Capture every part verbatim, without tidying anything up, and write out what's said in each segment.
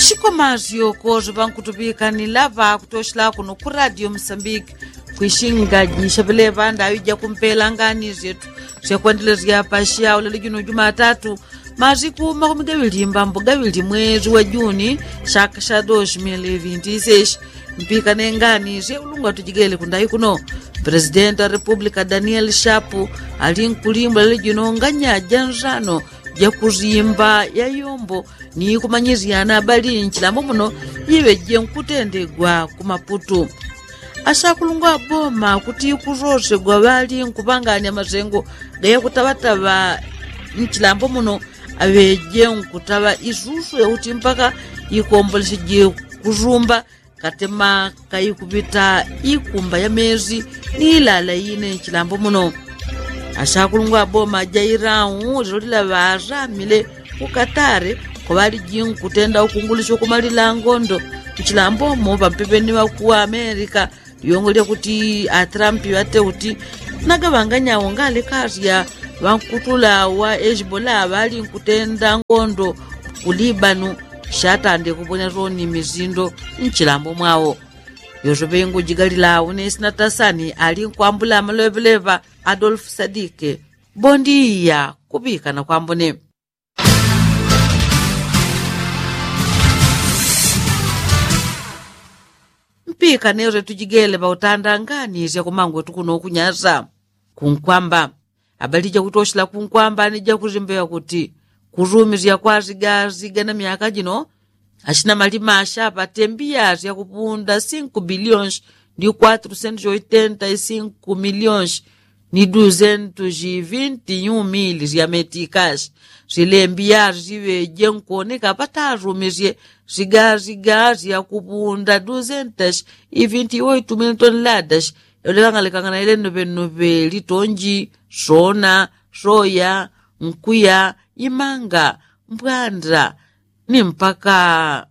Shikomasyoko syo ŵankutuŵikanila ŵakutoshela kuno ku radio msambiki, kwishingaji shabeleva ndaŵi jakumpela ngani syetu syakwendelesya pasyaulele juno jumatatu, masiku makumi gaŵili mbambo gaŵili mwezi wa juni, shaka sha dos mil vinti seshi. Mpikane ngani syeulungwa tujigele kundayi kuno. Presidenti wa republika daniel shapu ali nkulimbula lele juno nganya ja nsano, jakusimba ya yombo ni kumanyisyana abali nchilambo muno, iŵeje nkutendegwa ku maputu. Asakulungwa aboma kuti kusosegwa ŵali nkupanganya masengo gayakutaŵataŵa nchilambo muno, aŵeje nkutaŵa isusu yakuti mpaka ikomboleseje kusumba katema kaikupita ikumba ya mezi ni ilala ine nchilambo muno. Asakulungwa aboma ja irau lilo lila ŵasamile ku katare, kwaŵaliji nkutenda ukungulisya kumalila ngondo nchilambo mo ŵampepeni ŵaku amerika. Lyongo lyakuti atrampi ŵate uti nagaŵanganya awo ngalekasya ŵankutula wa eshibola ŵali nkutenda ngondo ku libanu. Shatande kuponya soni misindo nchilambo mwawo. Yosepe ngujigalila awo nesina tasani ali nkwambula amaloŵeleŵa adolfu sadike. Bondiya kuŵikana kwambone. Mpikane syo tujigele ŵautanda ngani syakumangwetu kuno kunyasa. Kunkwamba abali jakutoshela kunkwamba ni jakusimbeŵa kuti kusumisya kwa sigasiga na myaka jino, ashina malima ashapate mbiya syakupunda sinku bilionshi ndi kwatru sentu syoitenta isinku milionshi ni duzentu shivinti nyumili sya metikashi. Sile mbiya siŵeje nkuoneka patasumisye sigasiga syakupunda duzentashi ivinti iwoitu mili toneladashi. Yolekangana lekangana ile nnuŵennuŵe litonji, sona, soya, nkuya, imanga, mbwanda ni mpaka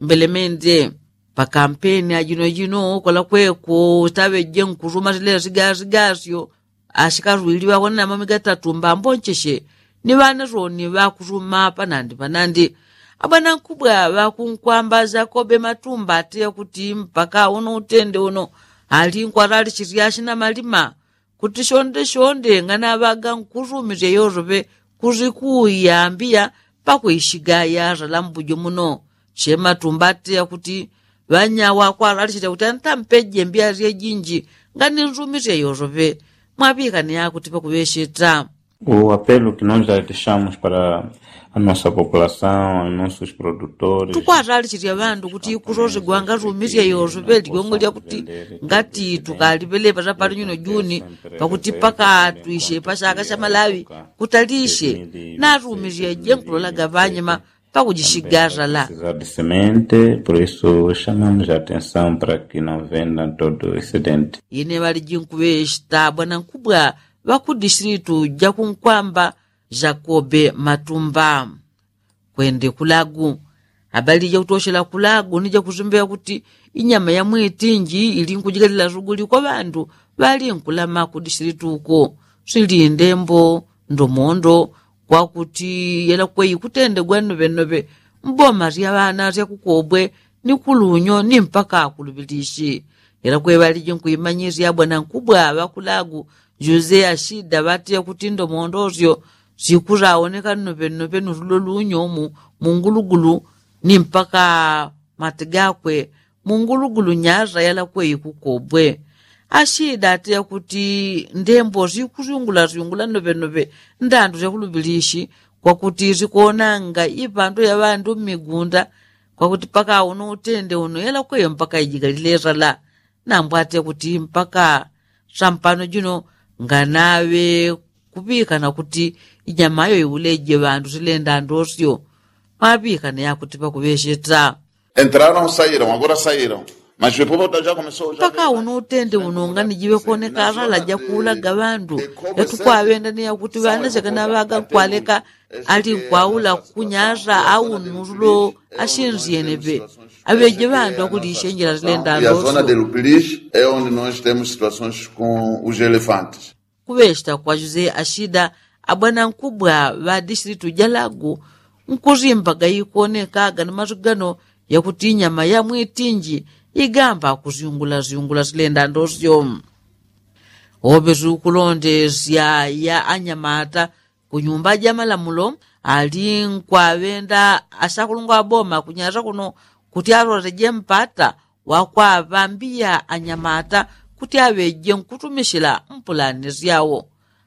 mbelemende. Pakampeni ajinojino kola kweko taŵeje nkusuma silele sigasigasyo. Ashikarwili ŵakonena mamiga tatu mbambo ncheshe ni ŵanasoni ŵakusuma panandi panandi. Abwanankubwa ŵakunkwamba syakobe matumba ateya kuti mpaka uno utende uno ali nkwalalishisya ashina malima kuti shonde shonde nganaŵaga nkusumisya yosoŵe kusikuya mbiya pakwishiga yasala mbujo muno. Shematumba ateya kuti ŵanyawa kwalalishisya kuti antampeje mbiya syejinji ngani nsumisya yosoŵe. Mwaŵikane yakuti pakuŵesheta. O apelo ki nos adeshamus para a nosa populasaun a nosos produtores. Tukwatalishisya ŵandu kuti kusosegwa ngasumisya yosoŵe lyongo lyakuti ngati tukaliŵeleŵa sapali nyuno juni pakuti pakatwishe pashaka sha malaŵi kutalishe nasumisya jenkulolaga ŵanyama pakujishigasala. Semente por isu shamamus atensaun para ki no venda todo isidenti. Ine ŵaliji nkuŵesheta bwanankubwa ŵakudisilitu jakunkwamba jakobe matumba. Kwende kulagu abali jakutoshela kulagu ni jakusimbeŵa kuti inyama ya mwitinji ili nkujigalila suguli kwa ŵandu ŵali nkulama kudisilitu uko. Silinde mbo ndomondo kwakuti yelakwe ikutendegwa nnoŵennoŵe mboma sya ŵana syakukobwe ni kulunyo ni mpaka kuluŵilishi. Yelakwe ŵaliji nkuimanyisya bwanankubwa ŵakulagu jose ashida ŵateya kuti ndomondo syo sikusaoneka nnoŵennoŵe nusulo lunyo mu mungulugulu ni mpaka mati gakwe mungulugulu nyasa yalakwe ikukobwe. Ashida ateya kuti ndembo sikusyungulasyungula nnoŵennoŵe ndandu syakuluŵilishi kwakuti sikonanga ipandu ya ŵandu mmigunda kwakuti paka uno utende uno yelakweyo mpaka ijigalile sala. Nambwate kuti mpaka sampano jino nganaŵe kuŵikana kuti inyamayo iuleje ŵandu silenda ndosyo. Maŵikana yakuti pakuŵesheta. Entraron sairon agora sairon mas mpaka uno utende uno ngani jiŵe koneka ŵala jakuulaga ŵandu yatukwaŵenda ni yakuti ŵana syakanaŵaga nkwaleka ali nkwaula kunyasa au nusulo ashinzyeneŵe aŵeje ŵandu akulishenjela silenda ndosyo. Kuŵesheta kwa jose ashida abwanankubwa ŵa dishilitu ja lagu nkusimbaga ikonekaga na masu gano yakuti nyama ya mwitinji igamba kusyungula syungula silenda ndosyo. Ope sukulondesya ya anyamata kunyumba ja malamulo ali nkwaŵenda asakulungwa aboma kunyasa kuno kuti aloleje mpata wakwapambiya anyamata kuti aŵeje nkutumisila mpulani syawo.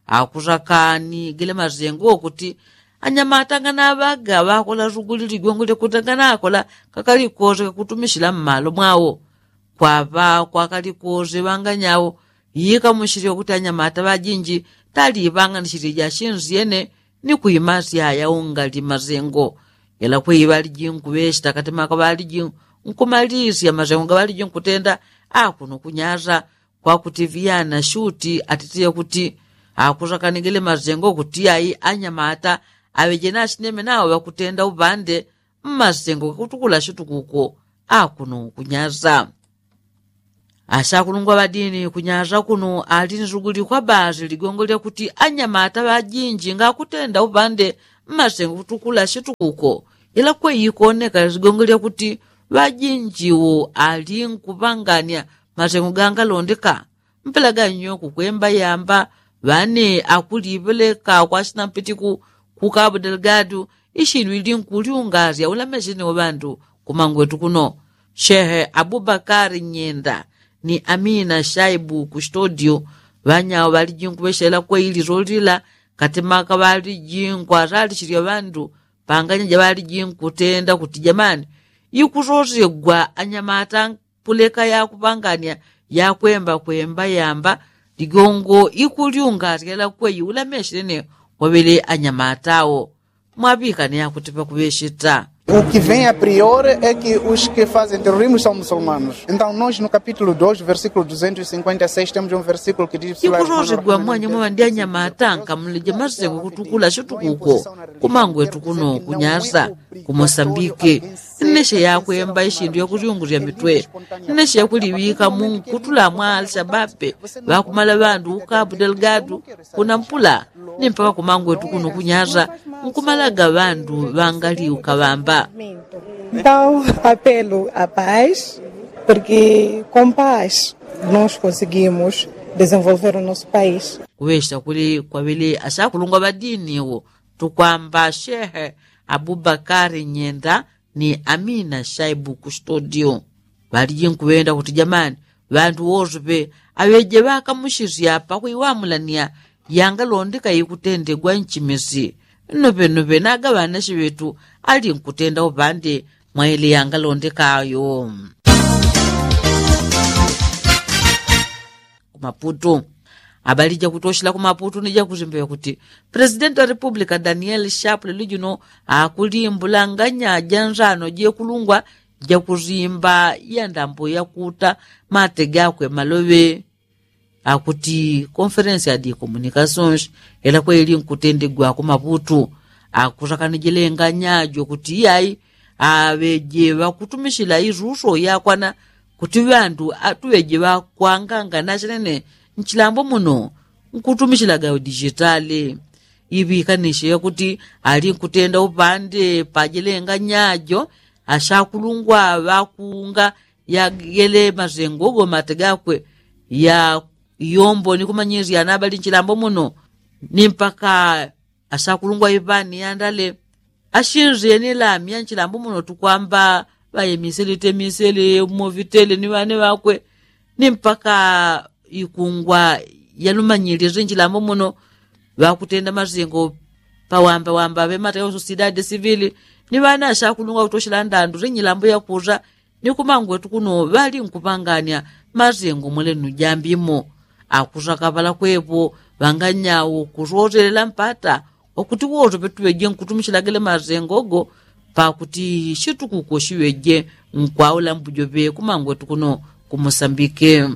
Akusakani gele masengo kuti anyamata nganaŵaga ŵakola suguli ligongo lyakuti nganakola kakalikose kakutumisila mmalo mwawo. Kwaŵa kwakalikose ŵanganyawo yikamushile kuti anyamata ŵajinji taliŵanganisile jashinsyene ni kuimasya yaungali masengo. Yela kwei ŵaliji nkuŵeshita katemaka ŵaliji nkumalisya masengo gaŵaliji nkutenda akuno kunyasa kwakuti vyana shuti atitiye kuti akusakanigile masengo kuti ai anyamata aŵeje nasineme nawo ŵakutenda uŵande mmasengo gakutukula shitukuko akuno kunyasa. Asakulungwa ŵadini kunyasa kuno ali nsugulikwa basi ligongo lyakuti anyamata ŵajinji ngakutenda uŵande mmasengo gakutukula shitukuko. Ila kwei ikoneka ligongo lyakuti ŵajinjiwo ali nkuŵangania masengo gangalondeka mpela ganyo kukwemba yamba ŵane akuliŵeleka kwasina mpitiku ku kabu delgadu. Ishinu ili nkulyungasya ulamesene wa ŵandu kumangwetu kuno. Shehe abubakari nyenda ni amina shaibu kustodio ŵanyawo ŵaliji nkuŵeshela kwei lilolila katemaka ŵaliji nkwasalishisya ŵandu panganya jaŵaliji nkutenda kuti jamani ikusosegwa anyamata puleka yakuŵangania yakwembakwemba yamba ligongo ikulyungasya ila kwei ulamesene waŵele anyamata awo. Mwaŵikane yakuti ŵakuŵesheta. O que vem a priori é que os que fazem terrorismo são muçulmanos. Então nós no capítulo dois versículo duzentos e cinquenta e seis temos um versículo que diz ikusosegwa mwanya mwaŵandi anyamata nkamuleje masengo kutukula shitukuko kumangwetu kuno kunyasa kumosambike. Nneshe yakwemba ishindu yakulyungusya mitwe nneshe yakuliŵika munkutula mwa alshababe ŵakumala ŵandu ukabu delgadu kuna mpula ni mpaka kumangwetu kuno kunyasa nkumalaga ŵandu ŵangali ukaŵamba. Então apelo a paz porque com paz nós conseguimos desenvolver o nosso país. Kuŵesha kuli kwaŵele asakulungwa ŵadini wo tukwamba shehe abubakari nyenda ni amina shaibu kustodio. Ŵaliji nkuŵenda kuti jamani ŵandu wosupe aŵeje ŵakamushisya pakuiwamulania yangalondeka ikutendegwa nchimisi. Nnopenupe naga ŵanashi ŵetu ali nkutenda upande mwaili yangalondeka ayo. Kumaputu. Abali jakutoshela kumaputu ni jakusimba yakuti presidenti wa republika danieli shapule lujuno akulimbulanganya janzano jekulungwa jakusimba yandambo yakuta mate gakwe maloŵe. Akuti konferensi ya dikomunikasons ela kweli nkutendegwa kumaputu akusakanijilenganya jokuti iyai aŵeje ŵakutumisila isuso yakwana kuti ŵandu atuŵeje ŵakwanganga nasenene nchilambo muno nkutumisila gaudijitali. Iŵikanishe yakuti ali nkutenda upande pajilenganyajo asakulungwa ŵakunga yagele masengo gomate gakwe ya iyombo ni kumanyisya anabali nchilambo muno ni mpaka asakulungwa ivani yandale ashinzye ni lami ya nchilambo muno tukwamba ŵayemisele temisele movitele ni ŵane ŵakwe ni mpaka ikungwa yalumanyilile zinjilambo muno ŵakutenda masengo pawambawamba ŵemata ya usosidadi sivili ni ŵana asakulungwa kutoshela ndandu zinjilambo yakusa ni kumangwetu kuno ŵali nkupangania masengo mwelenu jambimo. Akusakaŵala kwepo ŵanganyawo kusoselela mpata wakuti woso petuŵeje nkutumisilagele masengo go pakuti shitukuko shiŵeje nkwaula mbujoŵe kumangwetu kuno kumusambike.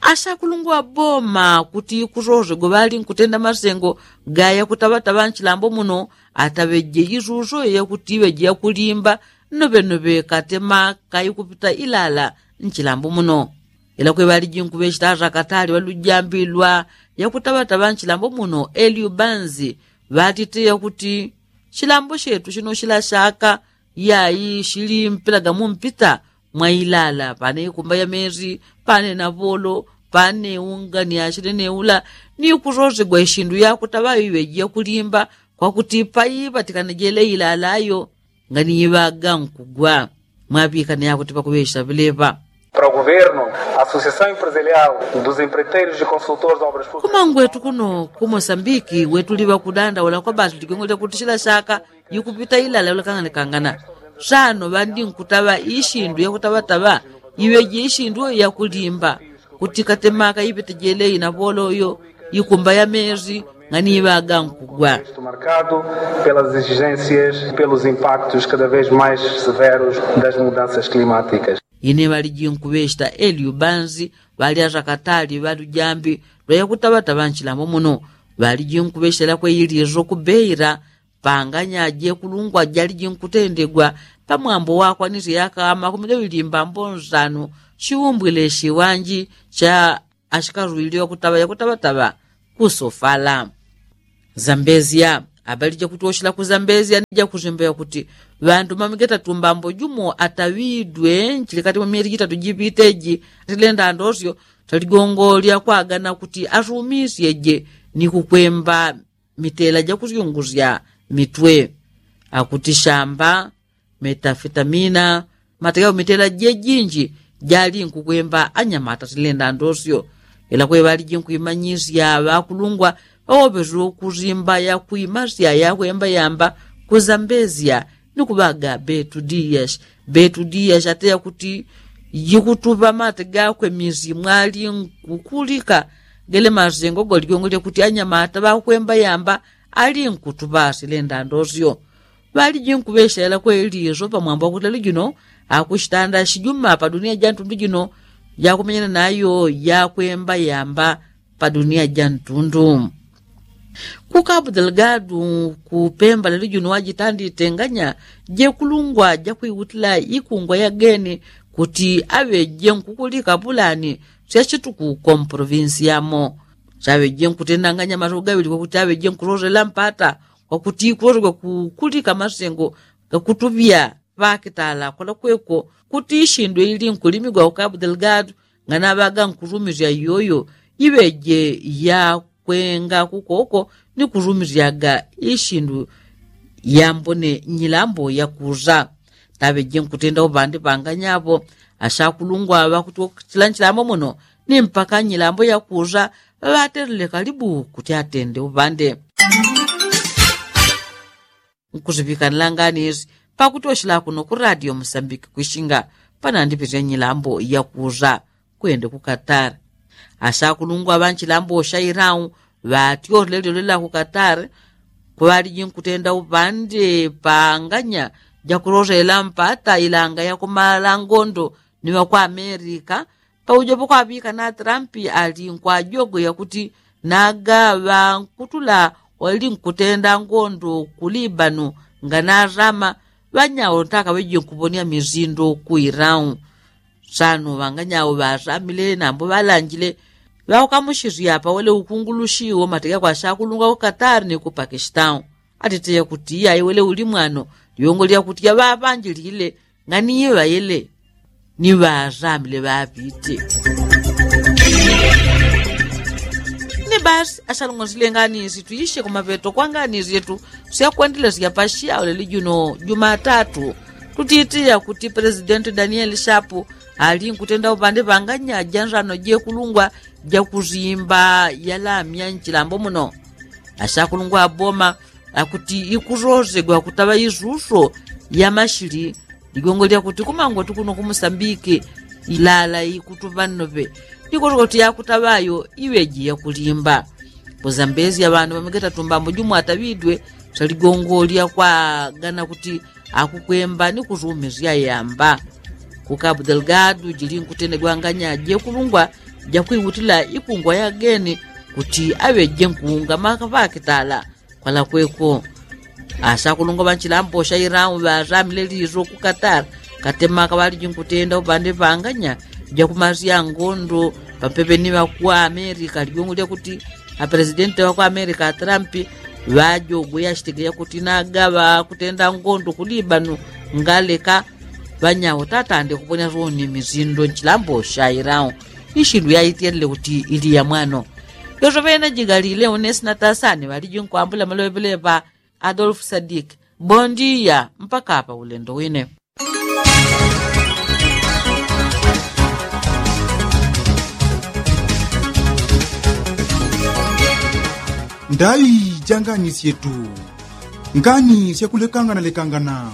Asakulungwa boma kuti kusose goŵali nkutenda masengo gaya kutaŵataŵa nchilambo muno ataŵeje isuso yakuti iŵeje yakulimba nnoŵenoŵe katema kaikupita ilala nchilambo muno. Ila kweŵaliji nkuŵechita arakatali ŵalujambilwa yakutaŵataŵa nchilambo muno eliubanzi ŵatite yakuti chilambo chetu chino chila chaka Iyayi shili mpila gamumpita mwailala pane ikumba ya mezi, pane na volo, pane unga ni ashile neula ni kusosegwa ishindu yakutaŵa iŵeji yakulimba, kwakuti paiŵatikana jele ilala yo nganiiŵaga nkugwa. Mwaŵikana yakuti pakuŵesha vileŵa. Para o governo, a associação empresarial dos empreiteiros e consultores de obras públicas. Kumangwetu kuno ku mosambiki wetuliŵa kudandaula kwa basi ligongo lyakuti shila shaka yikupita ilala ulakanganekangana. Sano ŵandi nkutaŵa ishindu yakutaŵataŵa iŵeji ishindu yakulimba kuti katemaka ipita jele ina volo yo ikumba ya mezi nganiiŵaga nkugwa. Marcado pelas exigências, pelos impactos cada vez mais severos das mudanças climáticas. Ine ŵaliji nkuŵeshita eliu banzi ŵalyaza katali ŵalujambi lwayakutaŵataŵa nchilambo muno. Ŵaliji nkuŵeshita lakwe ilizo kubeira panganya jekulungwa jaliji nkutendegwa pamwambo wakwanisya yaka makumi gaŵili mbambo nsanu shiumbwile shiwanji sha ashikalwili wakutaŵa yakutaŵataŵa kusofala. Zambezia. Abali jakuti oshila ku zambezia ni jakuzimba yakuti ŵandu mamigeta tumbambo jumo ataŵidwe nchilikati mwa myeli jitatu jiŵiteji atilenda ndosyo taligongo lyakwagana kuti asumisyeje ni kukwemba mitela jakusyungusya mitwe. Akuti shamba, metafetamina, matega umitela jejinji jali nkukwemba anyamata silenda ndosyo. Ila kweŵaliji nkwimanyisya ŵakulungwa ŵawoŵeswe kuzimba yakwimasya yakwemba yamba kuzambezya ni kuŵaga betu diyashi. Betu diyashi ateya kuti jikutuŵa mate gakwe misi mwali nkukulika gele masengo goligongolya kuti anyamata ŵakwemba yamba ali nkutuŵa silenda ndosyo. Ŵaliji nkuŵeshela kweli iso pamwambo wakuti lelo jino akushitanda shijuma pa dunia ja ntundu jino jakumenyana nayo yakwemba yamba pa dunia ja ntundu. Ku kapu delgadu kupemba lelo jino wajitandi itenganya jekulungwa jakwiwutila ikungwa yageni kuti aŵeje nkukulika pulani syashituku komprovinsi yamo. Chaŵeje nkutendanganya matuku gaŵili kwakuti aŵeje nkulolela mpata kwakuti kulosegwa kukulika masengo gakutuŵya ŵakitala kwalakweko kuti ishindu ili nkulimigwa ku kapu delgadu nganaŵaga nkurumisya iyoyo iŵeje yakwenga kukoko ni kurumisyaga ishindu yambone nyilambo yakuza. Taŵeje nkutenda uŵandi ŵanganyaŵo ashakulungwa ŵakuti wakuchila nchilambo muno ni mpaka nyilambo yakuza ŵaŵatelele kalibu kuti atende uŵande. Nkusiŵikanila nganisi pakuti oshila kuno ku radio musambiki kwishinga panandiŵisya nyilambo yakuza kwende ku katari. Ashakulungwa ŵanchilambo shairau ŵatyosile lyolela ku katari kuŵaliji nkutenda uŵande panganya jakulosela mpata ilanga yakumala ngondo ni ŵakwa amerika. Paujo pakwaŵika na trampi ali nkwajogo yakuti naga ŵankutula wali nkutenda ngondo ku libanu nganarama ŵanyao ntaka ŵeji nkuponia mizindo ku irau. Sano ŵanganyawo ŵasamile nambo ŵalanjile ŵaukamushisya pawele ukungulushi wo matega kwa shakulungwa ku katari ni ku pakistau. Atiteya kuti iyayi wele uli mwano lyongo lyakuti yaŵaŵanjilile nganiiŵayele ni ŵasamile ŵaŵite. Ni basi ashalungwa sile nganisi tuishe kumapeto kwa nganisi yetu syakwendelesya pasyawo leli juno jumatatu. Tutitiya kuti presidenti danieli shapu ali nkutenda upande panganya jansano jekulungwa jakusimba yalamya nchilambo muno. Ashakulungwa aboma akuti ikusosegwa kutaŵa isuso yamashili ligongo lyakuti kumangwa tukuno kumusambiki ilala ikutuŵa nnoŵe. Likoswa kuti yakutaŵayo iŵeji yakulimba. Kuzambezya ŵandu ŵamegeta tumbambo jumwataŵidwe saligongo lyakwagana kuti akukwemba ni kusumisya yamba. Ku kapu delgadu jili nkutenegwanganya jekulungwa jakwiwutila ikungwa yageni kuti aŵeje nkuunga makaŵakitala. Kwalakweko asakulungwa ŵanchilambo shairau ŵasamile liso ku katari katema kaŵaliji nkutenda upande panganya jakumasya ngondo pampepe ni ŵakwa amerika ligongo lyakuti apresidenti ŵakwa amerika atrampi Ŵajogwe yachitegeya kuti nagaŵa kutenda ngondo kulibanu ngaleka ŵanyawo tatande kuponya soni mizindo nchilambo shairao. Ishindu yaitielele kuti ili ya mwano. Yoso ŵene jigalile unesi na tasani ŵaliji nkwambula maloŵeŵeleŵa. Adolfu sadik. Bondiya mpaka apa ulendo wine. Ndai janganisye tu. Ngani syakulekangana lekangana.